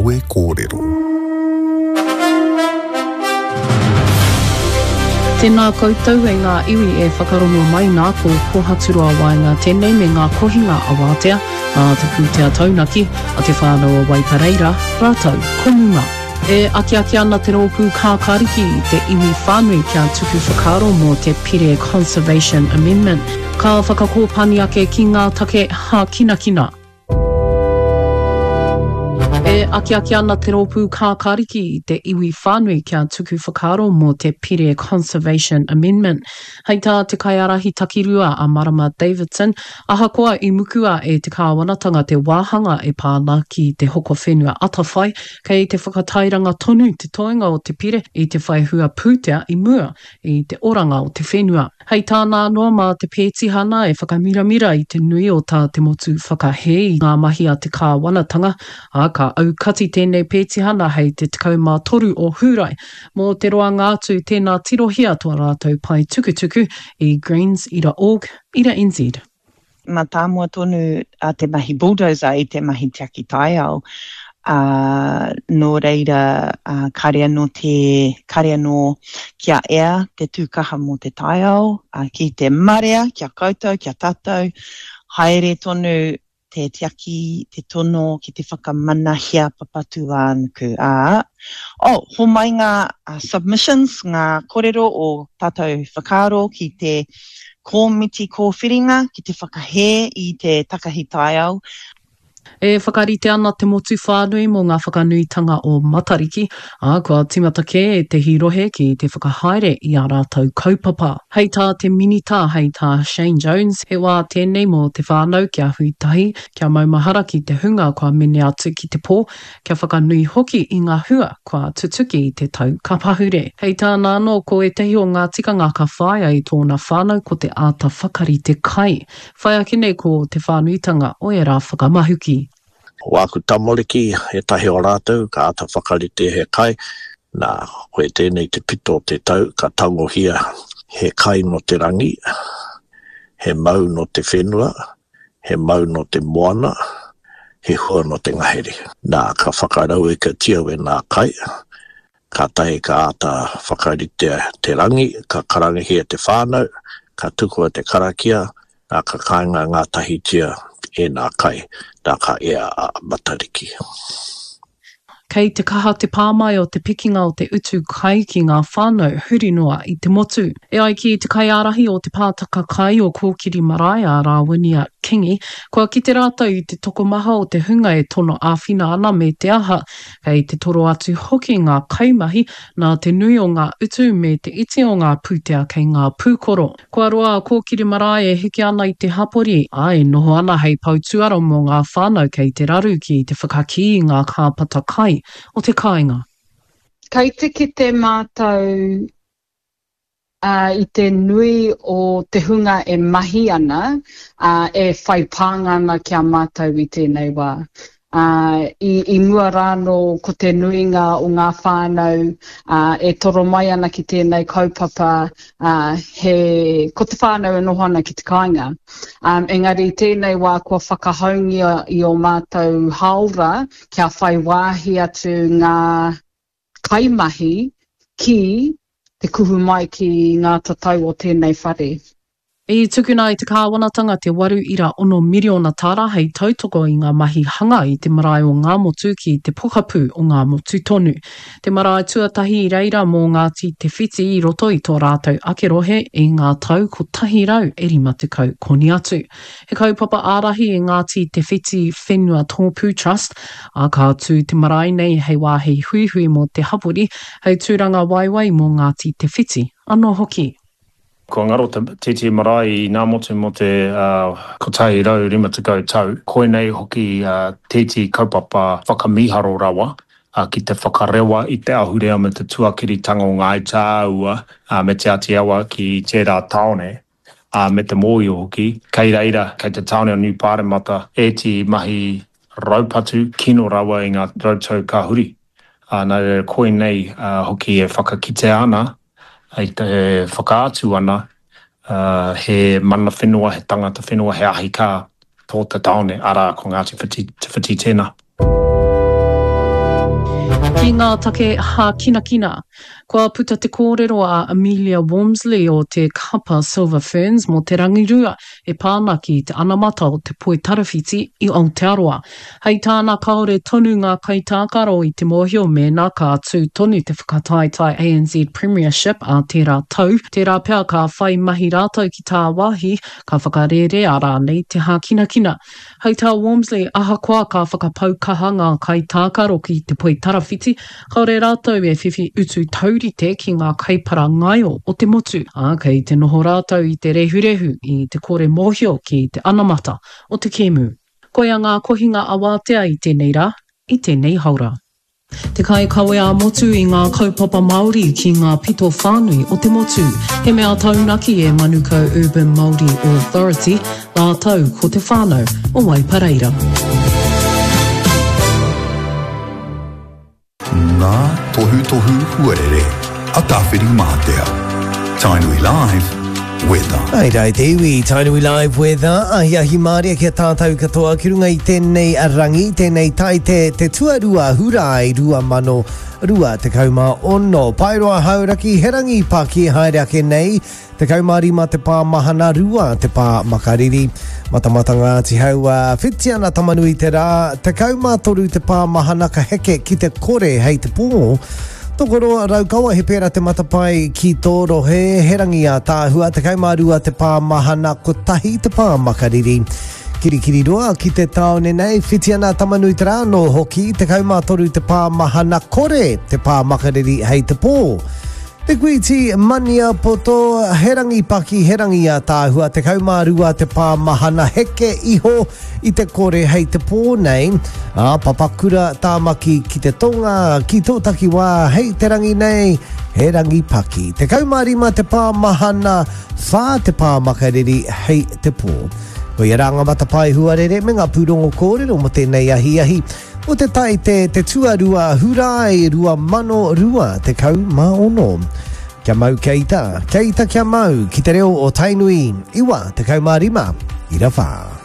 Kawe Kōrero. Tēnā koutou e ngā iwi e whakarongo mai nā ko Kohaturoa Waenga tēnei me ngā kohinga awātea nā te pūtea taunaki a Te Whānau o Waipareira rātou ko Muma. E akiaki ana te rōpū Kākāriki i te iwi whānui kia tuku whakaaro mō te Pire Conservation Amendment ka whakakōpani ake ki ngā take hākinakina. E akiaki ana te rōpū Kākāriki i te iwi whānui kia tuku whakaaro mō te Pire Conservation Amendment. Hei tā te kaiārahi takirua a Marama Davidson, ahakoa i mukua e te kāwanatanga te wāhanga e pā ana ki te hoko whenua atawhai, kei te whakatairanga tonu te toenga o te pire i te whai hua pūtea i mua i te oranga o te whenua. Hei tāna anō, mā te pētihana e whakamiramira i te nui o tā te motu whakahē i ngā mahi a te kāwanatanga, ā, ka aukati tēnei pētihana hei te 13 o Hūrae. Mō te roanga atu, tēnā tirohia tō rātou pae tukutuku i greens ira org ira nz. Mātāmua tonu a te mahi bulldozer i te mahi tiaki taiao, ā, nō reira, ā, kāre anō te, kāre anō kia ea te tū kaha mō te taiao, ā, ki te marea, ki a koutou, ki a tātou, haere tonu te tiaki, te tono ki te whakamanahia Papatūānuku, ā, oh, homai ngā submissions, ngā korero o tātou whakaaro ki te kōmiti kōwhiringa ki te whakahē i te takahi taiao. E whakarite ana te motu whānui mō ngā whakanuitanga o Matariki, ā, kua tīmata kē ētehi rohe ki te whakahaere i ā rātou kaupapa. Hei tā te Minita, hei tā Shane Jones, he wā tēnei mō te whānau kia hui tahi, kia maumahara ki te hunga kua mene atu ki te pō, kia whakanui hoki i ngā hua kua tutuki i te tau ka pahure. Hei tāna anō, ko ētahi o ngā tikanga ka whāia i tōna whānau ko te āta whakarite kai. Whai ake nei ko te whānuitanga o ērā whakamahuki. Ko āku tamariki, ētahi o rātou, ka āta whakarite he kai, nā, koe tēnei te pito o te tau, ka tangohia he kai nō te rangi, he mau nō te whenua, he mau nō te moana, he hua nō te ngahere. Nā, ka whakarauikatia wēnā kai, kātahi ka āta whakaritea te rangi, ka karangahia te whānau, ka tukua te karakia, nā, ka kainga ngātahitia ēnā kai, nā, ka ea a Matariki. Kei te kaha te pā mai o te pikinga o te utu kai ki ngā whānau huri noa i te motu. E ai ki te kaiārahi o Te Pātaka Kai o Kōkiri Marae a Rāwinia Kingi, kua kite rātou i te tokomaha o te hunga e tono āwhina ana me te aha, kei te toro atu hoki ngā kaimahi nā te nui o ngā utu me te iti o ngā pūtea kei ngā pūkoro. Kua roa a Kōkiri Marae e heke ana i te hapori, ā, e noho ana hei pou tuara mō ngā whānau kei te raru ki te whakakī i ngā kāpata kai o te kāinga. Kei te kite mātou i te nui o te hunga e mahi ana, ā, e whai pānga ana ki a mātou i tēnei wā. Ā, i, i mua rānō ko te nuinga o ngā whānau, ā, e toro mai ana ki tēnei kaupapa, ā, he, ko te whānau e noho ana ki te kāinga. Ā, engari i tēnei wā kua whakahaungia i ō mātou hāora kia whai wāhi atu ngā kaimahi ki te kuhu mai ki ngā tatau o tēnei whare. I tukuna e te kāwanatanga te 8.6 miriona tāra hei tautoko i ngā mahi hanga i te marae o Ngāmotu ki te pokapū o Ngāmotu tonu. Te marae tuatahi i reira mō Ngāti Te Whiti i roto i tō rātou ake rohe i ngā tau 150 koni atu. He kaupapa ārahi i Ngāti Te Whiti Whenua Tōpū Trust, ā, ka tū te marae nei hei wāhi huihui mō te hapori, hei tūranga waiwai mō Ngāti Te Whiti anō hoki. Kua ngaro te TT Marae i Ngāmotu mō te 150 tau. Koinei hoki tētehi kaupapa whakamīharo rawa ki te whakarewa i te ahurea me te tuakiritanga o Ngāi Tāua me Te Āti Awa ki tērā tāone, me te mōhio hoki, kei reira, kei te tāone o Niu Pāremata ētehi mahi raupatu kino rawa i ngā rautau ka huri. Nā reira, koinei hoki e whakakitea ana I te whakaatu ana he mana whenua, he tangata whenua, he ahi kā tō te tāone, arā, ko Ngāti Whiti, Te Whiti tēnā. Ki ngā take hākinakina, kua puta te kōrero a Amelia Walmsley o te kapa Silver Ferns mō te rangirua e pā ana ki te anamata o te poitarawhiti i Aotearoa. Hei tāna kāore tonu ngā kaitākaro i te mōhio mēnā ka tū tonu te whakataetae ANZ Premiership ā tērā tau, tērā pea ka whai mahi rātou ki tāwāhi, ka whakarērea rānei te hākinakina. Hei tā Walmsley, ahakoa ka whakapau kaha ngā kaitākaro ki te poitarawhiti, kāore rātou e whiwhi utu taurite ki ngā kaipara ngaio o te motu, ā, kei te noho rātou i te rehurehu, i te kore mōhio ki te anamata o te kēmu. Koia ngā kohinga awātea i tēnei rā, i tēnei haora. Te kaikawe ā-motu i ngā kaupapa Māori ki ngā pito whānui o te motu. He mea taunaki e Manukau Urban Māori Authority rātou ko te whānau o Waipareira. Ngā tohutohu huarere a Tāwhirimātea. Tainui Live, Weather. Hai rā i te iwi, Tainui Live Weather, ahiahi mārie ki a tātou katoa ki runga i tēnei rangi, tēnei taite te tuarua Hurae 2026. Paeroa Hauraki, he rangi paki haere ake nei, 15 te pā mahana, 2 te pā makariri. Matamata Ngāti Hauā, whiti ana Tamanui te rā, 13 te pā mahana ka heke ki te kore hei te pō. Tokoroa Raukawa, he pērā te matapae ki tō rohe, he rangi ātaahua, 12 te pā mahana, kotahi te pā makariri. Kirikiriroa ki te tāone nei, whiti ana Tamanui te rā anō hoki, 13 te pā mahana, kore te pā makariri hei te pō. Te Kuiti Maniapoto, he rangi paki, he rangi ātaahua, 12 te pā mahana heke iho i te kore hei te pō nei, ā, Papakura Tāmaki ki te tonga, ki tō takiwā hei te rangi nei, he rangi paki. 15 te pā mahana, whā te pā makariri hei te pō. Koia rā ngā matapae huarere me ngā pūrongo kōrero mō tēnei ahiahi. O te Taite te tuarua Hurae 2026. Kia mau kia ita, kia ita kia mau ki te reo o Tainui 95 ira whā.